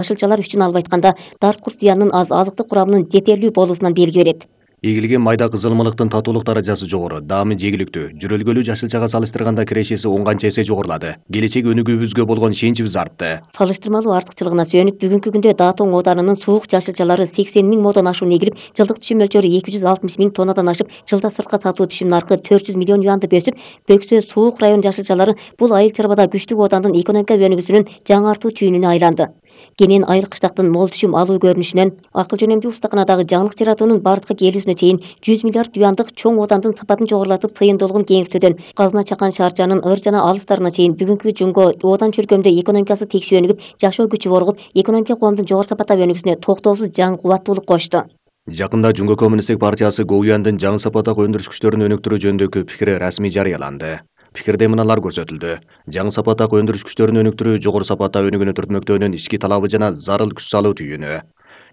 жашылчалар үчүн алып айтканда дарт курс зыянынын аз, азыктык курамынын жетерлүү болуусунан белги берет. Эгилген майда кызылмалыктын татуулук даражасы жогору, даамы жегиликтүү, жүрөлгөлүү жашылчага салыштырганда кирешеси 10 канча эсе жогорулады. Келечек өнүгүүбүзгө болгон ишеничибиз артты. Салыштырмалуу артыкчылыгына сүйөнүп, бүгүнкү күндө Даатоң ооданынын суук жашылчалары 80 000 модон ашуун эгилип, жылдык түшүм мөлчөрү 260 000 тоннадан ашып, жылда сыртка сатуу түшүм наркы 400 миллион юанды өсүп, Бөксө суук район жашылчалары бул айыл чарбада күчтүк оодандын экономика өнүгүүсүнүн жаңартуу түйүнүнө айланды. Кенен айыл кыштактын мол түшүм алуу көрүнүшүнөн акыл жөнөмдүү устаканадагы жаңылык жаратуунун бардыкка келүүсүнө чейин 100 миллиард юандык чоң оодандын сапатын жогорулатып, сыйымдуулугун кеңиртүүдөн Казына Чакан шаарчанын ыр жана алыстарына чейин бүгүнкү жунго оодан чөлкөмдө экономикасы текши өнүгүп, жашоо күчү оргуп, экономика коомдун жогору сапатта өнүгүүсүнө токтоосуз жаңы кубаттуулук кошту. Жакында Жунго коммунисттик партиясы Гоуяндын жаңы сапаттагы өндүрүш күчтөрүн өнүктүрүү жөнүндөгү пикири расмий жарыяланды. Пикирде мыналар көрсөтүлдү. Жаңы сапаттагы өндүрүш күчтөрүн өнүктүрүү жогору сапатта өнүгүүнү түртмөктөөнүн ички талабы жана зарыл күч салуу түйүнү.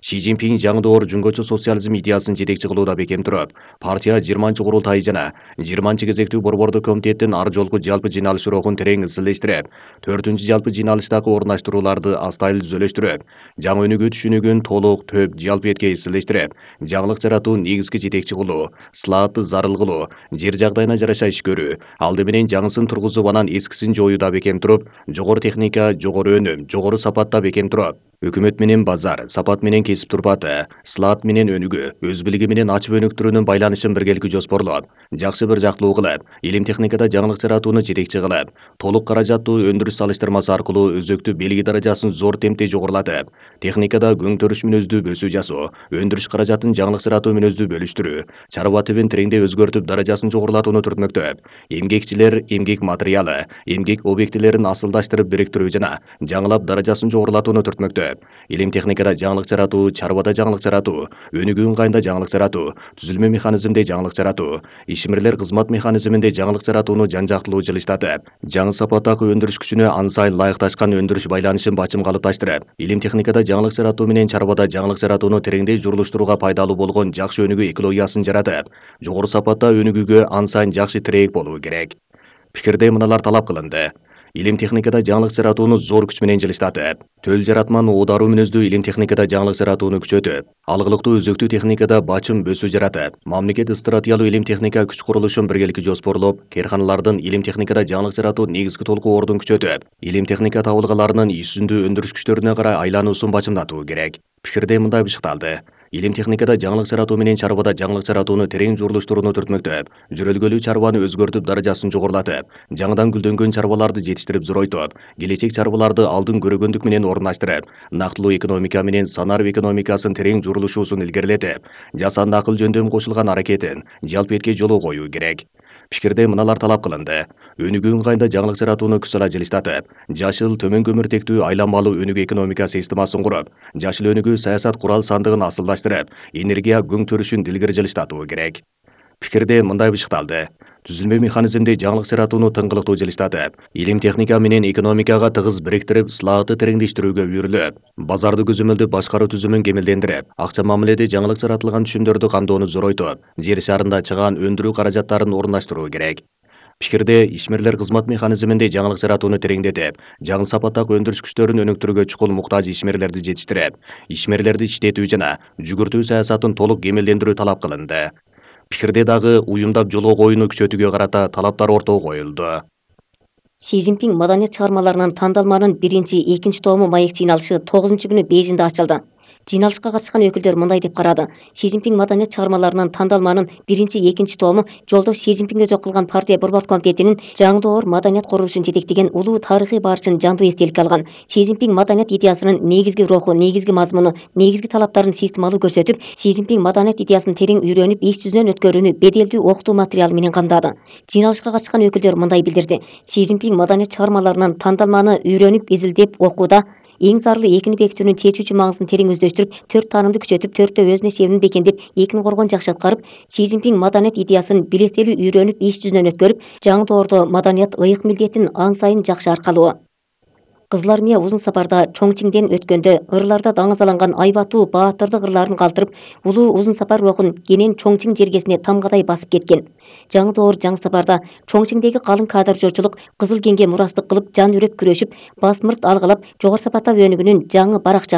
Ши Цзиньпин жаңы доор жунгочу социализм идеясын жетекчи кылууда бекем туруп, партия 20-курултайы жана 20-кезектүү борбордук комитеттин ар жолку жалпы жыйналыш урокун терең изилдештирип, 4-жалпы жыйналыштагы орундаштырууларды астайыл түзөлөштүрүп, жаңы өнүгүү түшүнүгүн толук, төп, жалпы этке изилдештирип, жаңылык жаратуу негизги жетекчи кылуу, слаатты зарыл кылуу, жер жагдайына жараша иш көрүү, алды менен жаңысын тургузуп анан эскисин жоюуда бекем туруп, жогору техника, жогору өнүм, жогору сапатта бекем туруп, өкмөт менен базар, сапат менен кесип турпаты, слаат менен өнүгүү, өз билиги менен ачып өнүктүрүүнүн байланышын биргеликке жоспорлоп, жакшы бир жактылуу кылып, илим техникада жаңылык жаратууну жетекчи кылып, толук каражаттуу өндүрүш салыштырмасы аркылуу өзөктүү белги даражасын зор темпте жогорулатып, техникада көң төрүш мүнөздүү бөсүү жасоо, өндүрүш каражатын жаңылык жаратуу мүнөздүү бөлүштүрүү, чарба тибин тереңдей өзгөртүп даражасын жогорулатууну түртмөктөп, эмгекчилер эмгек материалы, эмгек объектилерин асылдаштырып бириктирүү жана жаңылап даражасын жогорулатууну түртмөктөп, илим техникада жаңылык жаратуу, чарбада жаңылык жаратуу, өнүгүү ыңгайында жаңылык жаратуу, түзүлмө механизмде жаңылык жаратуу, ишмерлер кызмат механизминде жаңылык жаратууну жан-жактылуу жылыштатып, жаңы сапаттагы өндүрүш күчүнө ан сайын ылайыкташкан өндүрүш байланышын бачым калыпташтырып, илим техникада жаңылык жаратуу менен чарбада жаңылык жаратууну тереңдей журулуштурууга пайдалуу болгон жакшы өнүгүү экологиясын жаратып, жогору сапатта өнүгүүгө ан сайын жакшы тирээк болуу керек. Пикирде мыналар талап кылынды. Илим техникада жаңылык жаратууну зор күч менен жылыштатып, төл жаратман оодаруу мүнөздүү илим техникада жаңылык жаратууну күчөтүп, алгылыктуу өзөктүү техникада бачым бөсүү жаратып, мамлекет стратегиялуу илим техника күч курулушун биргеликке жоспорлоп, кээрканалардын илим техникада жаңылык жаратуу негизги толку ордун күчөтүп, илим техника табылгаларынын исүндүү өндүрүш күчтөрүнө карай айлануусун бачымдатуу керек. Пикирде мындай бышыкталды. Илим техникада жаңылык жаратуу менен чарбада жаңылык жаратууну терең журулуштурууну түртмөктөп, жүрөлгөлүү чарбаны өзгөртүп даражасын жогорулатып, жаңыдан гүлдөнгөн чарбаларды жетиштирип зоройтуп, келечек чарбаларды алдын көрөгөндүк менен орундаштырып, нактылуу экономика менен санарып экономикасын терең журулушуусун илгерилетип, жасанды акыл жөндөмү кошулган аракетин жалпы этке жолго коюу керек. Пикирде мыналар талап кылынды. Өнүгүү ыңгайында жаңылык жаратууну күч сала жылыштатып, жашыл, төмөн көмүртектүү айланмалуу өнүгүү экономика системасын куруп, жашыл өнүгүү саясат курал сандыгын асылдаштырып, энергия көң төрүшүн илгери жылыштатуу керек. Пикирде мындай бышыкталды. Түзүлмө механизмде жаңылык жаратууну тыңгылыктуу жылыштатып, илим техника менен экономикага тыгыз бириктирип, слаатты тереңдештирүүгө үйрүлүп, базарды көзөмөлдөп башкаруу түзүмүн кемелдендирип, акча мамиледе жаңылык жаратылган түшүмдөрдү камдоону зоройтуп, жер шарында чыгаан өндүрүү каражаттарын орундаштыруу керек. Пикирде ишмерлер кызмат механизминде жаңылык жаратууну тереңдетип, жаңы сапаттагы өндүрүш күчтөрүн өнүктүрүүгө чукул муктаж ишмерлерди жетиштирип, ишмерлерди иштетүү жана жүгүртүү саясатын толук кемелдендирүү талап кылынды. Пикирде дагы уюмдап жолго коюуну күчөтүүгө карата талаптар ортого коюлду. Ши Цзиньпин маданият чыгармаларынын тандалманын 1-2 тому маек жыйналышы 9-күнү Бейжиңде ачылды. Жыйналышка катышкан өкүлдөр мындай деп карады. Ши Цзиньпин маданият чыгармаларынын тандалманын 1-2 тому жолдош Ши Цзиньпинге жок кылган партия борбордук комитетинин жаңы доор маданият курулушун жетектеген улуу тарыхый барышын жандуу эстеликке алган. Ши Цзиньпин маданият идеясынын негизги руху, негизги мазмуну, негизги талаптарын системалуу көрсөтүп, Ши Цзиньпин маданият идеясын терең үйрөнүп, иш жүзүнөн өткөрүүнү беделдүү окутуу материалы менен камдады. Жыйналышка катышкан өкүлдөр мындай билдирди. Ши Цзиньпин маданият чыгармаларынын тандалманы үйрөнүп, изилдеп окууда эң зарыл экини бекитүүнүн чечүүчү маңызын терең өздөштүрүп, 4 таанымды күчөтүп, 4тө өзүнө шебин бекемдеп, экини коргоон жакшы аткарып, Ши Цзиньпин маданият идеясын билеселүү үйрөнүп, иш жүзүнөн өткөрүп, жаңы доордо маданият ыйык милдетин ан сайын жакшы аркалоо. Кызыл армия узун сапарда Чоңчиңден өткөндө ырларда даңазаланган айбаттуу баатырдык ырларын калтырып, улуу узун сапар рухун кенен Чоңчиң жергесине тамгадай басып кеткен. Жаңы доор жаңы сапарда Чоңчиңдеги калың кадр жорчулук Кызыл кеңге мурастык кылып, жан үрөп күрөшүп, басмырт алгылап, жогору сапатта өнүгүүнүн жаңы баракчасы